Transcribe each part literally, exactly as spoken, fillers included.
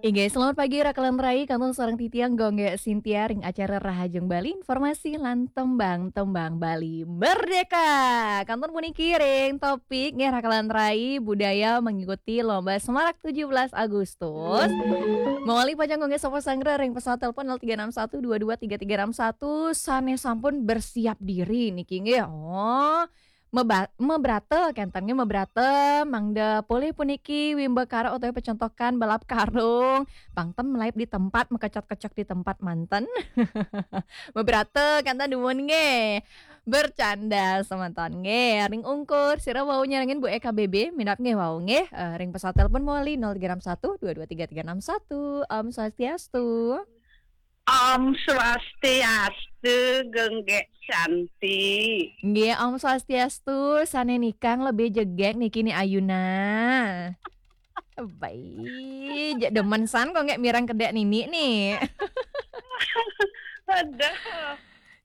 Inggih, selamat pagi Rakalan Rai, kantun sareng titiang Gung Gek Sintia ring acara Rahajeng Bali, informasi lan tembang-tembang Bali Merdeka. Kantun puniki ring topik nggih Rakalan Rai, budaya mengikuti lomba Semarak tujuh belas Agustus. Mawali pacang Gung Gek sapa sanggra ring pesawat telepon nol tiga enam satu dua dua tiga tiga enam satu sane sampun bersiap diri niki nggih. Oh, meba-, mebrata, kenten nggih mebrata, mangda polih puniki wimbakara utawi pecentokan balap karung, pang ten malaib di tempat, makecot-kecot di tempat manten. Mebrata, kenten dumun nggih. Bercanda semeton nggih. Ring ungkur, sira wau nyarengin Bu Eka B B, minab nggih wau nggih. Eh, ring pesawat telepon mawali nol tiga enam satu dua dua tiga tiga enam satu. Om Swastiastu. Om Swastiastu, Gung Gek Santi. Nggih, Om Swastiastu, sane nikang lebih jegek niki Ni Ayuna. Baik, jek demen san kok nggak mirang kedek nini nih. Aduh.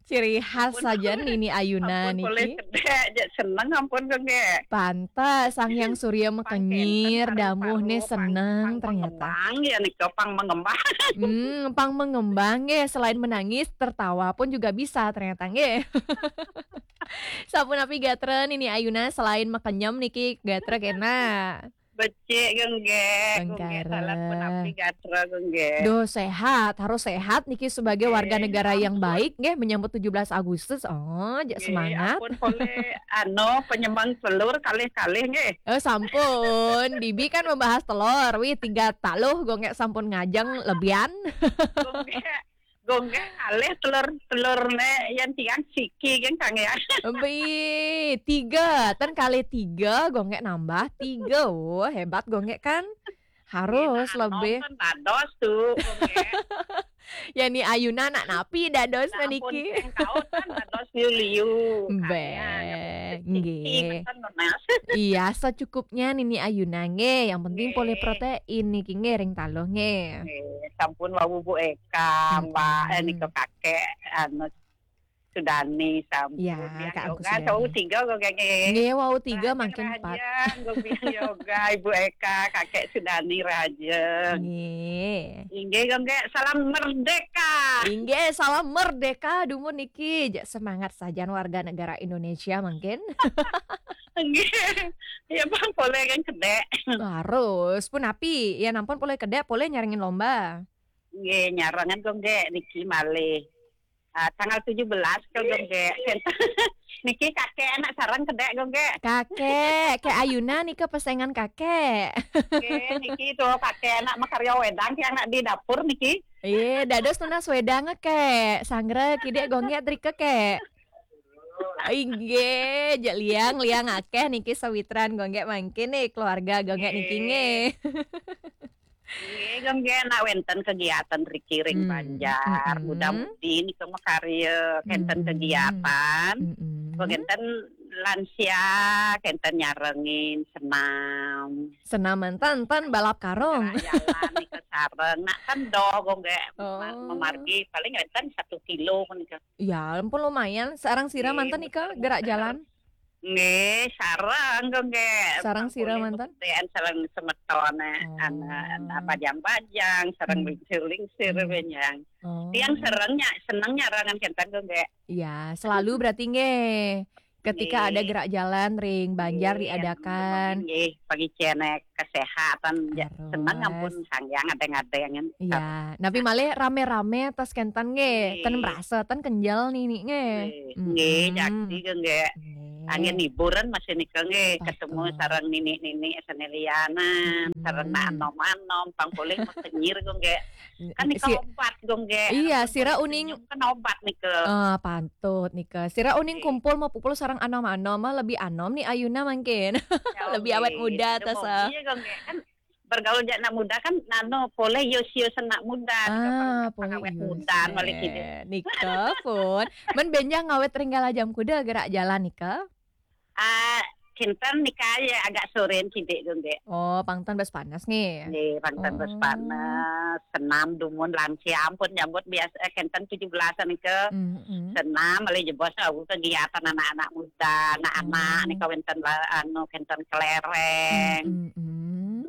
Ciri khas Ampun. Saja Nini Ayuna Ampun, boleh niki. Kedek, jek seneng ampun, Gung Gek. Pantes, Sang Hyang Surya Pang mekenyir, kenten, damuh ne pang, seneng pang ternyata. Mengembang, ya, nika, pang mengembang. Hmm, pang mengembang, nggih. Selain menangis, tertawa pun juga bisa ternyata, nggih. Sapunapi gatra Nini Ayuna selain makenyem niki gatra kena? Becik, Gung Gek. Gung Gek, salah pun api gatra, Gung Gek. Duh, sehat, harus sehat niki sebagai warga negara yang baik, nggih, menyambut tujuh belas Agustus. Oh, jek semangat. Ampun, boleh, anu, penyembang telur kalih-kalih, nggih. Oh, sampun. Bibi kan membahas telur. Wih, tiga taluh, Gung Gek sampun ngajeng lebihan. Gung Gek, Gung Gek kalih telur, telur ne yang tiang siki, kan, Kang, ya. Bi, tiga. Ten kali tiga, Gung Gek nambah tiga. Oh, hebat, Gung Gek kan. Harus lebih. Nonton dados tuh, Gung Gek. Ya, Ni Ayuna nak napi dados niki. Engkau kan dados liu-liu. Be, nggih. Iya, secukupnya Nini Ayuna nggih. Yang penting polih protein niki nggih ring taluh nggih. Nggih, sampun wau Bu Eka, Mbak, eh, nika kakek, anu, Sudani sampun. Ya, Kak Agus Sudani. Wau tiga kok, Kak, nggih. Nggih, wau tiga, makin empat. Rahajeng, Gung Biang Yoga, Ibu Eka, Kakek Sudani Rahajeng. Nggih. Inggih, Gung Gek, salam merdeka. Inggih, salam merdeka dumun niki. Jek semangat sajan warga negara Indonesia mungkin. Nggih. Ya, Bang, boleh kan kedek. Harus. Punapi, ya nampun polih kedek, polih nyarengin lomba. Nggih, nyarengan, Gung Gek, niki malih. Ah, tanggal tujuh belas ke, Gung Gek. Niki kakek anak sareng kedek, Gung Gek. Kakek, Kek Ayuna nika pesengan kakek. Nggih, niki tuh kakek anak makarya wedang, yang anak di dapur niki. Iya, dados nunas wedang, Kek. Sanggra kidik, Gung Gek, drika, Kek. Inggih, jek liang, liang akeh niki sawitran, Gung Gek, mangkin nih keluarga Gung Gek niki nggih. Nggih, Gung Gek, nak wenten kegiatan riki ring Banjar, muda-mudi nika makarya, kenten kegiatan. Gung Gek, kenten lansia, kenten nyarengin senam. Senam manten, ten balap karung. Jalan nika sareng, nak kendor, Gung Gek, ma-, mamargi paling wenten satu kilo nika. Ya, ampun lumayan. Sareng sira manten nika gerak jalan? Nggih, sareng, Gung Gek. Sareng sira manten? Sareng semetone, anak, anak bajang-bajang, sareng lingsir-lingsir, benjang. Oh. Tiang sareng nya, seneng nyarengan kenten, Gung Gek. Ya, selalu berarti nggih. Ketika ada gerak jalan ring Banjar diadakan. Nggih, pagi cenek kesehatan, ya, seneng ampun Sang Hyang adeng-adengan. Iya, napi malih rame-rame tas kenten nggih, ten merasa, ten kenjel nini nggih. Nggih, nggih, jakti ke nggih. Nggih. Angin hiburan masih nika nggih, ketemu sareng nini-nini sane lianan, sareng anom-anom, pang polih makenyir ke nggih. Kan nika obat ke nggih. Iya, sira uning kan obat nika. Ah, pantut nika. Sira uning kumpul mapupul sareng anom-anom, mah lebih anom Ni Ayuna mangkin. Lebih awet muda tas. Iya, Gung Gek. Kan bergaul jak anak muda kan nano poleh yus-yus anak muda nika. Ah, pang-, poleh pangawet yus muda, eh, malih kidik. Nika pun. Men benjang ngawet ring Kalajamuda gerak jalan nika? Ah, kinten nika ya agak soren kidik, Gung Gek. Oh, pang ten bes panas nggih. Nggih, pang ten bes panas. Senam dumun lansia ampun nyambut biasa, eh, kenten tujuh belasan nika. Senam malih jebos aku kegiatan anak-anak muda, anak-anak nika wenten la-, anu, kenten kelereng.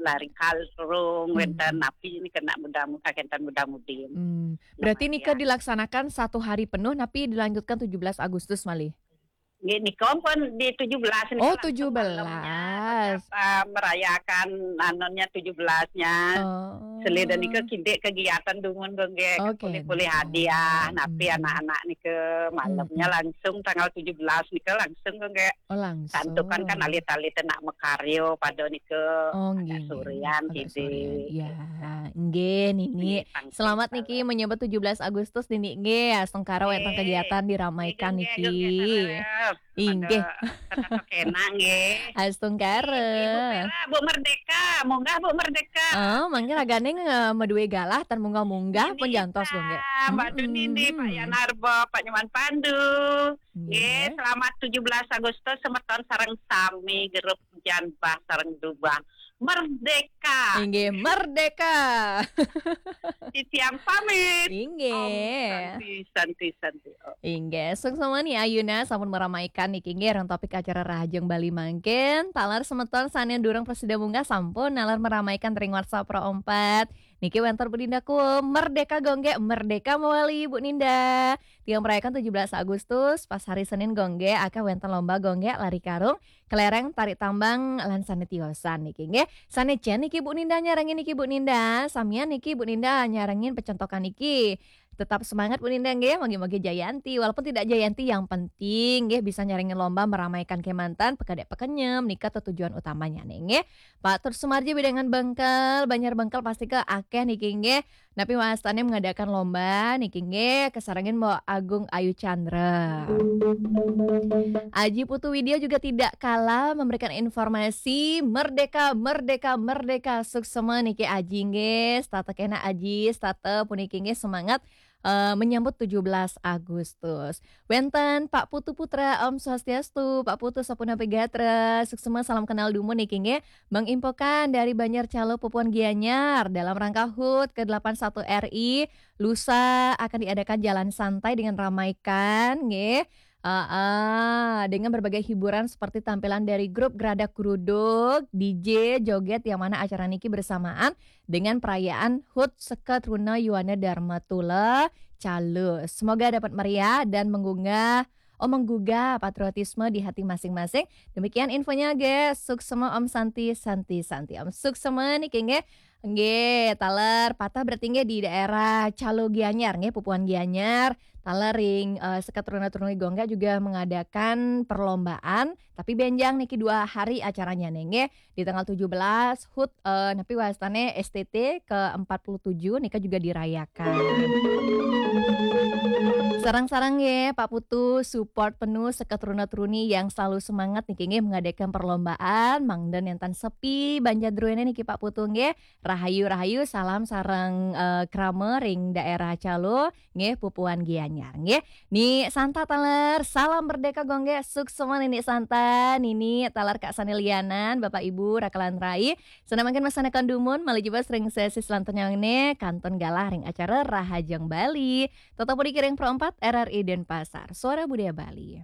lari karung, hmm, wénten napi nika nak muda-mudi, kakénten muda-mudi. Hmm. Berarti nika dilaksanakan satu hari penuh, napi dilanjutkan tujuh belas Agustus malih? Nggih, nika pun di tujuh belas nika. Oh, langsung tujuh belas. Malamnya, tetap, eh, merayakan anunya tujuh belasnya. Oh. Selain nika kidik kegiatan dumun, Gung, nggih, oke, kulih-kulih hadiah, napi, hmm, anak-anak nika malamnya, hmm, langsung tanggal tujuh belas nika langsung, Gung, nggih. Oh, langsung. Santukan kan alit-alit nak makarya pada nika. Oh, agak nggih, nggih. Sorean, agak kidik. Sorean. Ya, nggih, Nini. Nggih, pangkih. Selamat niki menyambut tujuh belas Agustus, Nini, nggih. Astungkara wénten kegiatan diramaikan niki. Nggih, nggih, nggih. Inggih. Pada tetep enak, nggih. Astungkara. Ibu Vera, Bu Merdeka, munggah Bu Merdeka. Oh, mangkin ragané, eh, madué galah, tan munggah-munggah, nggih, pun jantos, Gung, nggih. Mbak Duni, mm-mm, Pak Yanarbo, Pak Nyoman Pandu. Nggih, nggih, selamat tujuh belas Agustus, semeton sareng sami, grup Jan Bah sareng Dubah. Merdeka. Inggih, merdeka. Titiang pamit. Inggih. Om Santi, Santi, Santi. Om. Inggih, suksma Ni Ayuna sampun meramaikan niki, nggih, ring topik acara Rahajeng Bali mangkin. Taler semeton sané durung prasida munggah sampun naler meramaikan ring WhatsApp Pro empat. Niki wénten Bu Ninda Kuum, merdeka, Gung, nggih, merdeka mawali, Bu Ninda. Tiang merayakan tujuh belas Agustus, pas hari Senin, Gung, nggih, akéh wénten lomba, Gung, nggih, lari karung, kelereng, tarik tambang, lan sané tiosan niki, nggih. Sané cén niki Bu Ninda nyarengin niki, Bu Ninda. Samian niki Bu Ninda nyarengin pecentokan niki. Tetap semangat, Bu Ninda, nggih. Mogi-mogi jayanti, walaupun tidak jayanti, yang penting nggih bisa nyarengin lomba meramaikan kémanten, pekedék pekenyem, nika tetujuan utamanya nih, nggih. Pak Tur Sumarji, Bidangan Bengkel, Banjar Bengkel pasti ké akéh niki, nggih. Napi wastané mengadakan lomba niki, nggih, kasarengin Mbok Agung Ayu Chandra. Aji Putu Widya juga tidak kalah memberikan informasi, merdeka, merdeka, merdeka, suksma niki Aji, nggih, setata kénak Aji, setata puniki, nggih, semangat, eh, menyambut tujuh belas Agustus. Wénten Pak Putu Putra, Om Swastiastu, Pak Putu sapunapi gatra, suksma, salam kenal dumun niki, nggih. Bang Impokan dari Banjar Calo, Pupuan Gianyar, dalam rangka HUT ke delapan satu R I, lusa akan diadakan jalan santai dengan ramaikan, nggih. Heeh, dengan berbagai hiburan seperti tampilan dari grup Geradak Geruduk, D J, joget, yang mana acara niki bersamaan dengan perayaan HUT Seka Truna Yuwana Dharma Tula Calo. Semoga dapat meriah dan menggugah, oh, menggugah patriotisme di hati masing-masing. Demikian infonya, nggih. Suksma, Om Santi, Santi, Santi. Om suksma niki, nggih. Nggih, taler patah berarti, nggih, di daerah Calo Gianyar, nggih, Pupuan Gianyar. Taler ring, eh, Seka Truna Truni Gongga juga mengadakan perlombaan, tapi bénjang niki dua hari acaranya nih, nggih. Di tanggal tujuh belas, HUT, eh, napi wastané, S T T ke empat puluh tujuh nika juga dirayakan. Sareng-sareng, nggih, Pak Putu, support penuh Seka Truna Truni yang selalu semangat niki, nggih, mengadakan perlombaan, mangda nénten sepi banjar druéné niki, Pak Putu, nggih. Rahayu, rahayu, salam sareng, eh, krama ring daerah Calo, nggih, Pupuan Gianyar, nggih. Ni Santa taler, salam merdeka, Gung, nggih, suksma Nini Santa, Nini taler Kak Sani Lianan, Bapak Ibu, raka lan rai, sané mangkin masané kandumun, malih jebos ring sesi selanturnya né, kantun galah ring acara Rahajeng Bali. Tetep puniki ring Pro empat R R I Denpasar, Suara Budaya Bali.